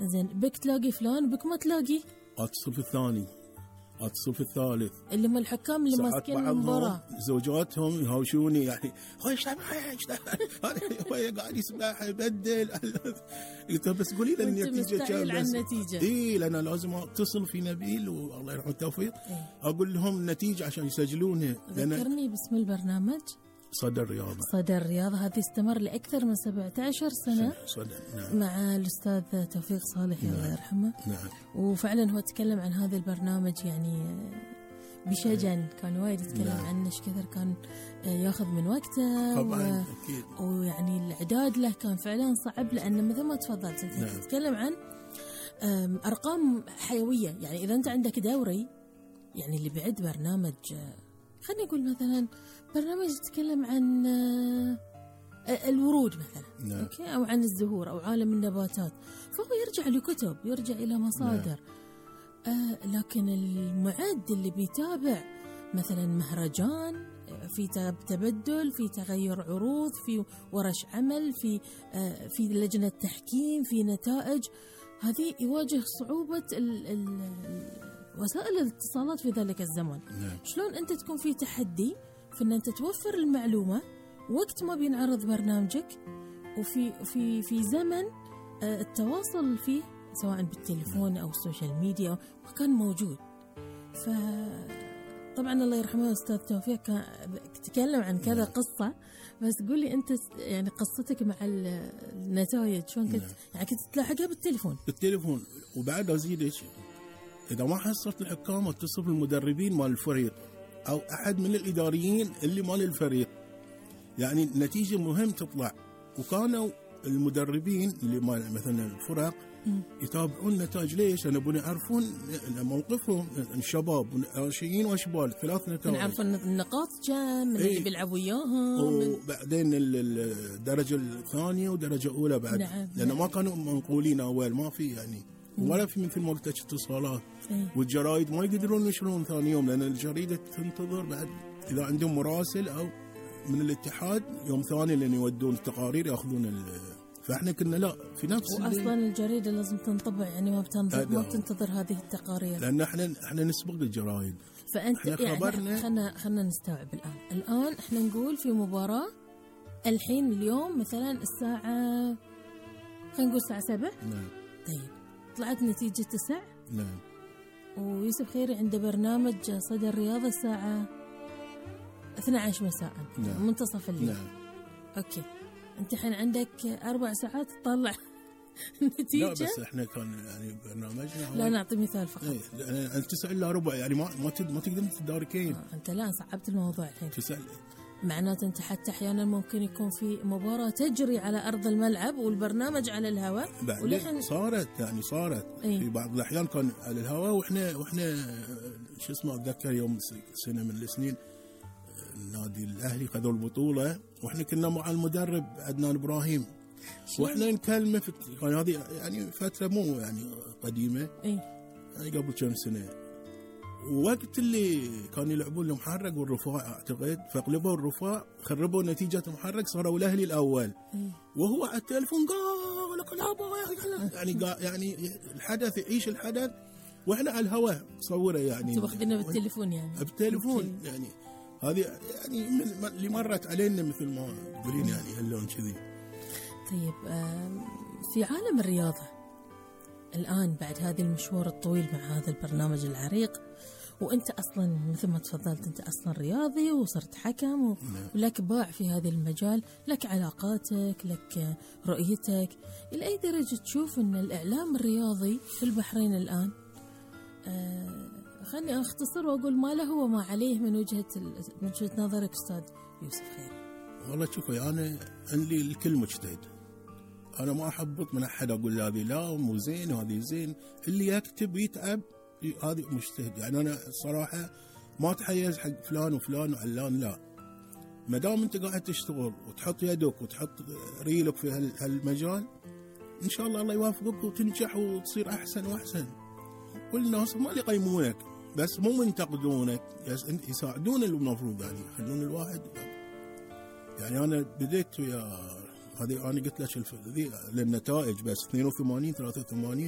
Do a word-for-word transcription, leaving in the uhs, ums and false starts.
زين بك تلاقي فلان بك ما تلاقي، اتصل في الثاني اتصل في الثالث، اللي هم الحكام اللي ماسكين المباراة زوجاتهم يهاوشوني يعني خش هو قاعد يسبح يبدل. قلت بس قولي لي النتيجة كم بس. اي لأن لازم اتصل في نبيل والله يرحمه التوفيق إيه؟ اقول لهم النتيجة عشان يسجلونها. ذكرني باسم البرنامج. صدى الرياضة. صدى الرياضة هذه استمر لأكثر من سبعة عشر سنة صدى. نعم. مع الأستاذ توفيق صالح نعم. الله يرحمه. نعم. وفعلا هو تكلم عن هذا البرنامج يعني بشجن، كان وايد يتكلم نعم. عنه ايش كثر كان ياخذ من وقته طبعا و... أكيد. ويعني الإعداد له كان فعلا صعب، لأنه مثل ما تفضلت أنت نعم. تتكلم عن أرقام حيوية. يعني إذا أنت عندك دوري، يعني اللي بعد برنامج خليني أقول مثلا برنامج يتكلم عن الورود مثلا نعم. أوكي؟ أو عن الزهور أو عالم النباتات، فهو يرجع لكتب، يرجع إلى مصادر نعم. آه لكن المعد اللي بيتابع مثلا مهرجان، في تبدل، في تغير عروض، في ورش عمل، في آه في لجنة تحكيم، في نتائج، هذه يواجه صعوبة ال ال وسائل الاتصالات في ذلك الزمن نعم. شلون أنت تكون في تحدي في أن أنت توفر المعلومة وقت ما بينعرض برنامجك، وفي في في زمن التواصل فيه سواء بالتليفون أو السوشيال ميديا ما كان موجود. فطبعا الله يرحمه أستاذ توفيق كان تكلم عن كذا قصة، بس قولي أنت يعني قصتك مع النتائج شلون كنت يعني كنت تلاحقها بالتليفون بالتليفون وبعد أزيدك إذا ما حصلت الحكام اتصل بالمدربين مال الفريق أو أحد من الإداريين اللي مال الفريق، يعني النتيجة مهم تطلع. وكانوا المدربين اللي مال مثلا الفرق يتابعون النتائج. ليش؟ لأن يبون يعرفون موقفهم الشباب ناشئين وأشبال ثلاث نتائج، يعرفون النقاط كم من ايه؟ اللي بيلعبوا وياهم، وبعدين الدرجة الثانية ودرجة أولى بعد نعم. لأن نعم. ما كانوا منقولين أول، ما في يعني ولا في مثل ما قلت اتصالات ايه؟ والجرايد ما يقدرون ينشرون ثاني يوم، لأن الجريدة تنتظر بعد إذا عندهم مراسل أو من الاتحاد يوم ثاني لأن يودون التقارير يأخذون ال... فإحنا كنا لا في نفس وأصلا الجريدة لازم تنطبع، يعني ما بتنتظر ما بتنتظر هذه التقارير، لأن إحنا إحنا نسبق الجرايد. فأنت يعني خلنا خلنا نستوعب الآن الآن إحنا نقول في مباراة الحين اليوم مثلا الساعة خلينا نقول الساعة سبعة نعم. طيب طلعت نتيجة تسع نعم. ويوسف خيري عنده برنامج صدى الرياضة الساعة اثنتي عشرة مساء نعم. منتصف الليل نعم. أوكي أنت الحين عندك أربع ساعات تطلع النتيجة. لا بس إحنا كان يعني برنامجنا لا نعطي مثال فقط. إيه أنت تسأل إلا ربع يعني ما ما ما تقدر تداركين. آه أنت لا صعبت الموضوع الحين. تسأل معناته أنت حتى أحيانا ممكن يكون في مباراة تجري على أرض الملعب والبرنامج على الهواء. ولحن صارت يعني صارت ايه؟ في بعض الأحيان كان على الهواء وإحنا وإحنا شو اسمه أتذكر يوم سنة من السنين النادي الأهلي خذوا البطولة وإحنا كنا مع المدرب عدنان إبراهيم وإحنا نكلمه في كان هذه يعني فترة مو يعني قديمة ايه؟ يعني قبل كم سنة، ووقت اللي كانوا يلعبون المحرق والرفاع أعتقد فقلبوا الرفاع خربوا نتيجة المحرق صاروا الأهلي الأول ايه؟ وهو على التلفون قال لك يعني يعني الحدث يعيش الحدث وإحنا على الهواء صوره يعني انتوا واخذينه بالتليفون يعني بالتلفون يعني هذه يعني من اللي مرت علينا مثل ما تقولين يعني هاللون كذي. طيب في عالم الرياضة الآن بعد هذا المشوار الطويل مع هذا البرنامج العريق وأنت أصلا مثل ما تفضلت أنت أصلا رياضي وصرت حكم ولك باع في هذا المجال، لك علاقاتك لك رؤيتك، إلى أي درجة تشوف أن الإعلام الرياضي في البحرين الآن آه خلني أختصر وأقول ما له وما عليه من وجهة من وجهة نظرك أستاذ يوسف خيري؟ والله شوفي أنا عندي الكل مجتهد، أنا ما أحبط من أحد أقول هذه لا مو زين وهذه زين، اللي يكتب يتعب هذه مجتهد. يعني أنا الصراحة ما أتحيز حق فلان وفلان وعلان، لا ما دام أنت قاعد تشتغل وتحط يدك وتحط ريلك في هالمجال إن شاء الله الله يوافقك وتنجح وتصير أحسن وأحسن. والناس ما اللي يقيمونك بس مو منتقدونك، يساعدون المفروض يعني يخلون الواحد. يعني أنا بديت ويا هذه أنا قلت لك للنتائج بس اثنين وثمانين ثلاثة وثمانين